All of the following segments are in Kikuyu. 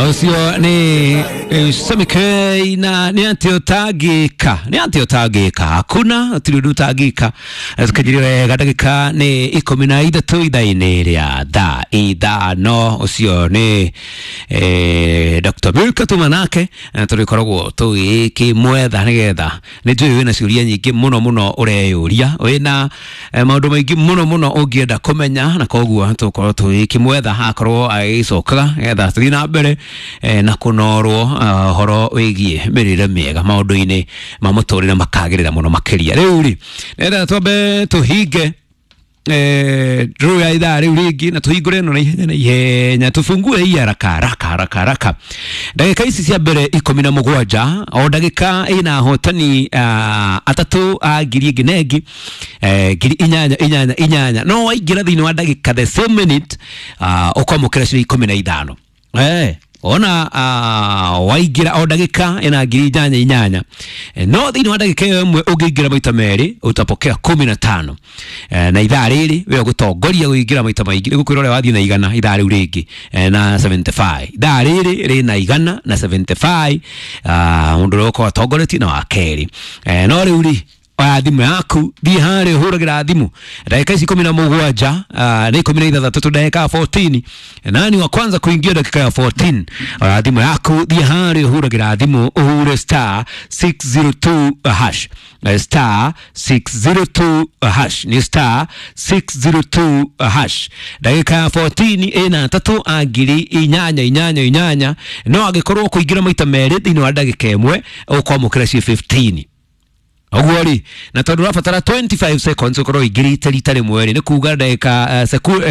Ũcio nĩ Sammy na nĩ atĩ ũtangĩka, nĩ atĩ ũtangĩka, hakuna gũtirĩ ũndũ ũtangĩka. Tũkinyire wega ndagĩka nĩ 13 ithaa-inĩ rĩa thaa 5. Ũcio nĩ Dr. Milka tuma nake tũrĩkoragwo tũgĩkĩmwetha nĩgetha nĩ njũĩ wĩna ciũria nyingĩ mũno mũno ũreyũria, wĩna maũndũ maingĩ mũno mũno ũngĩenda kũmenya, na koguo tũkorwo tũgĩkĩmwetha akorwo agĩcokaga nĩgetha tũthiĩ na mbere na kũnorwo ũhoro wĩgiĩ mĩrĩre mĩega maũndũ-inĩ ma mũtũrĩre makagĩrĩra mũno makĩria. Rĩu rĩ, nĩgetha twambe tũhinge draw ya ithaa rĩu rĩngĩ na tũhingũre ĩno na ihenya na ihenya, tũfungue hii haraka haraka haraka haraka. Ndagĩka ici cia mbere 17, o ndagĩka ĩna ahotani atatũ a ngiri ĩngĩ na ĩngĩ, ngiri 8 8 8. No waingĩra thĩinĩ wa ndagĩka the same minute, ũkwamũkĩra ciringi 15. Ona waingĩra o ndagĩka ĩna ngiri 8 8, no thĩinĩ wa ndagĩka ĩyo ĩmwe ũngĩingĩra maita merĩ utapokea 15. Na ithaa rĩrĩ we ũgũtongoria kũingĩra maita maingĩ, nĩgũkwĩra ũrĩa wathiĩ na 100 ithaa rĩu rĩngĩ na 75. Ithaa rĩrĩ rĩna 175, mũndũ ũrĩa ũkorwo atongoretie na wa kerĩ. No rĩu rĩ, oya thimũ yaku, thiĩ harĩa ũhũragĩra thimũ ndagĩka ici 17, nĩ 16 tu, ndagĩka 14. Nani wa kwanza kuingia dakika ya 14? Oya thimũ yaku, thiĩ harĩa ũhũragĩra thimũ, ũhure star 602 hash. Star 602 hash, nĩ star 602 hash. Ndagĩka ya 14 ĩna atatũ a ngiri 8 8 8. No angĩkorwo kũingĩra maita merĩ thĩinĩ wa ndagĩka ĩmwe ũkwamũkĩra ci 15. Ũguo rĩ, na tondũ ũrabatara 25 seconds ũkorwo ũingĩrĩte rita rĩmwe rĩ, nĩ kuga ndagĩka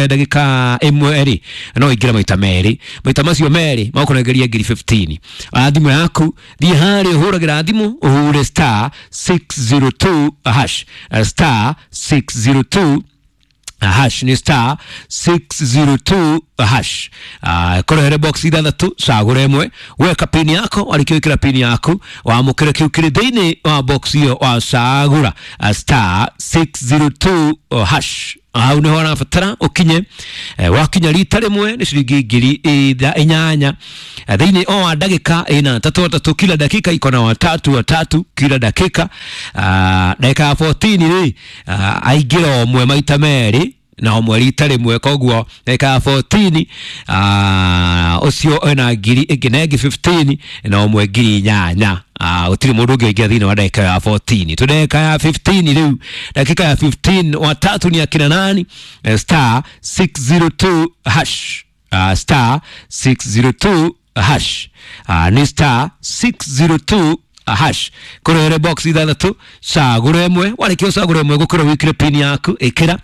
ndagĩka ĩmwe rĩ, no ũingĩre maita merĩ, maita macio merĩ makũnengeria ngiri 15. Oya thimũ yaku, thiĩ harĩa ũhũragĩra thimũ, ũhure star 602 hash. Star 602 hash, nĩ star 602 hash. Korwo here box ithathatũ, cagũra ĩmwe, weka pin yako, warĩkia gwĩkĩra pin yaku wamũkĩra kĩu kĩrĩ thĩinĩ wa box ĩyo wacagũra. Star 602 hash, hau nĩho ũrabatara ũkinye. Wakinya rita rĩmwe nĩ ciringi ngiri 8 thĩinĩ o wa ndagĩka ĩna atatũ atatũ, kila dakika iko na watatu watatu kila dakika. Ndagĩka ya 14 rĩ, aingĩra ũmwe maita merĩ na ũmwe rita rĩmwe, koguo ndagĩka ya 14 ũcio ena ngiri ĩngĩ na ĩngĩ 15 na ũmwe ngiri 8. Gũtirĩ mũndũ ũngĩ ũingĩra thĩinĩ wa ndagĩka ya 14. Tu ndagĩka ya 15 rĩu, dakika ya 15, watatu ni akina nani? Star 602 hash. Star 602 hash, nĩ star 602 hash. Kũrĩ box ithathatũ, cagũra ĩmwe, warĩkia ũcagũra ĩmwe gũkĩra wĩkĩre pin yaku, ĩkĩra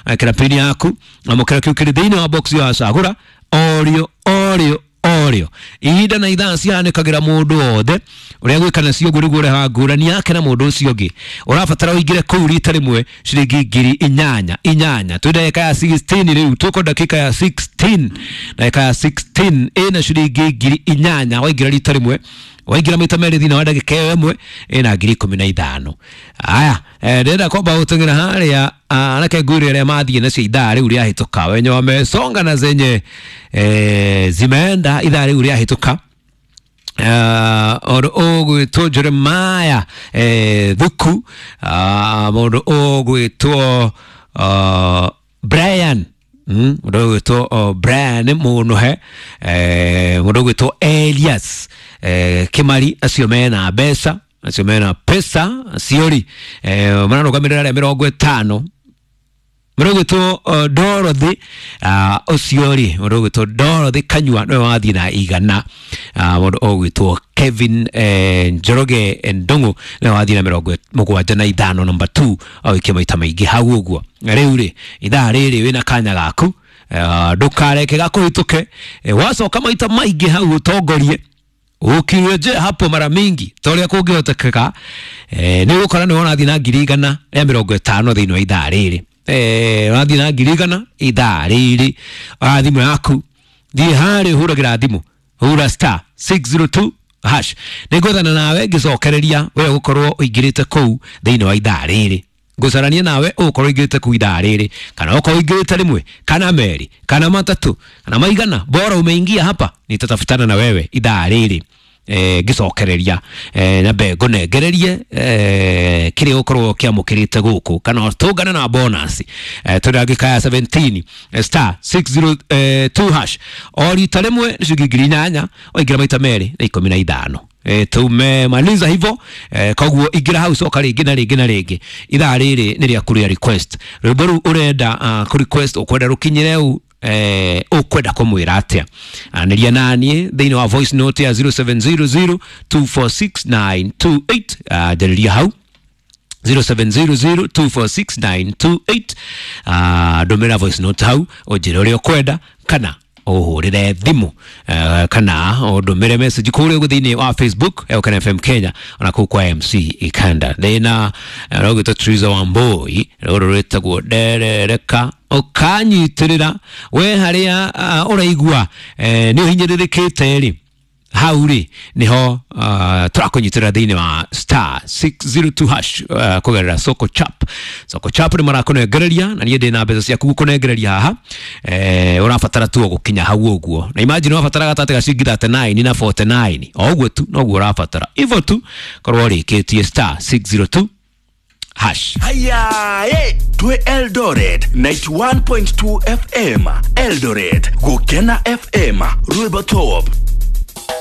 ĩkĩra pin yaku, amũkĩra kĩu kĩrĩ thĩinĩ wa box ĩyo wacagũra orĩo orĩo orĩo. Ihinda na ithaa cihanĩkagĩra mũndũ wothe, ũrĩa gwĩka nacio ũguo nĩguo ũrehaga ngũrani yake na mũndũ ũcio ũngĩ. Ũrabatara ũingĩre kũu rita rĩmwe ciringi ngiri 8 8. Twĩ ndagĩka ya 16 rĩu, tuko dakika ya 16. Ndagĩka ya 16 ĩna ciringi ngiri 8 waingĩra rita rĩmwe. Waingĩra maita merĩ thĩinĩ wa ndagĩka ĩyo ĩmwe ĩna ngiri 15. Aya, ndĩrenda kwamba gũteng'era harĩa anake ngwĩre arĩa mathiĩ nacio ithaa rĩu rĩahĩtũka, wenye wamesonga na zenye zimeenda ithaa rĩu rĩahĩtũka. Ũndũ ũgwĩtwo Jeremiah Thuku, mũndũ ũgwĩtwo Brian, mũndũ ũgwĩtwo Brian Mũnũhe, mũndũ ũgwĩtwo Elias Kimari, acio mena mbeca, acio mena pesa, acio rĩ mararũgamĩrĩra arĩa 50. Mũndũ ũgwĩtwo Dorothy, ũcio rĩ, mũndũ ũgwĩtwo Dorothy Kanyua nĩwe wathiĩ na 100. Mũndũ ũgwĩtwo Kevin Njoroge Ndung'u nĩwe wathiĩ na 75, number 2, agĩikia maita maingĩ hau ũguo. Rĩu rĩ, ithaa rĩrĩ wĩna kanya gaku, ndũkareke gakũhĩtũke. Wacoka maita maingĩ hau ũtongorie, ukirejea hapo mara mingi ta ũrĩa kũngĩhotekeka, nĩ ũgũkora nĩ ũrathiĩ na ngiri 150 thĩinĩ wa ithaa rĩrĩ. Ũrathiĩ na ngiri 100 ithaa rĩrĩ. Oya thimũ yaku, thiĩ harĩa ũhũragĩra thimũ, hura star 602 hash. Nĩngwethana nawe ngĩcokereria we ũgũkorwo ũingĩrĩte kũu thĩinĩ wa ithaa rĩrĩ. Ngũcarania nawe ũgũkorwo ingĩrĩte kuu ithaa rĩrĩ, kana ũkorwo ingĩrĩte rĩmwe kana merĩ kana matatũ kana maigana, bora umeingia hapa, nitatafutana na wewe ithaa rĩrĩ, ngĩcokereria nyambe ngũnengererie kĩrĩa ũkorwo kĩamũkĩrĩte gũkũ, kana tũngane na bonus. Twĩ ndagĩka ya 17, star 602 hash, o rita rĩmwe nĩ ciringi 8,000, waingĩra maita merĩ na 15. Tumemaliza hivyo, koguo ingĩra hau, coka rĩngĩ na rĩngĩ na rĩngĩ. Ithaa rĩrĩ nĩ rĩaku rĩa request rwĩmbo rũu ũrenda, kũ request ũkwenda rũkinyĩre u, ũkwenda kũmwĩra atĩa. Anĩria naniĩ thĩinĩ wa voice note ya 0700 246928. Njarĩria hau 0700246928, ndũmĩra voice note hau ũnjĩre ũrĩa ũkwenda, kana ũhũrĩre thimũ, kana ũndũmĩre message kũrĩa ũguo thĩinĩ wa Facebook Eũkana FM Kenya, ona kũu kwa MC Ikanda. Ndĩna rũgĩtwo Triza Wambui, rũrũ rwĩtagwo nderereka. Ũkanyitĩrĩra we harĩa ũraigua nĩ ũhinyĩrĩrĩkĩte rĩ, hau rĩ niho tũrakũnyitĩrĩra thĩinĩ wa star 602 hash, kũgerera Soko Chap. Soko Chap nĩ marakũnengereria, na niĩ ndĩ na mbeca ciaku gũkũnengereria haha. Ũrabatara tu o gũkinya hau ũguo, na imagine ũrabatara gatagatĩ ga ciringi 39 na 49, o ũguo tu noguo ũrabatara, hivyo tu korwo ũrĩkĩtie star 602 hash. Haya, twe Eldoret 91.2 FM, Eldoret Gukena FM, Rwimbo Top.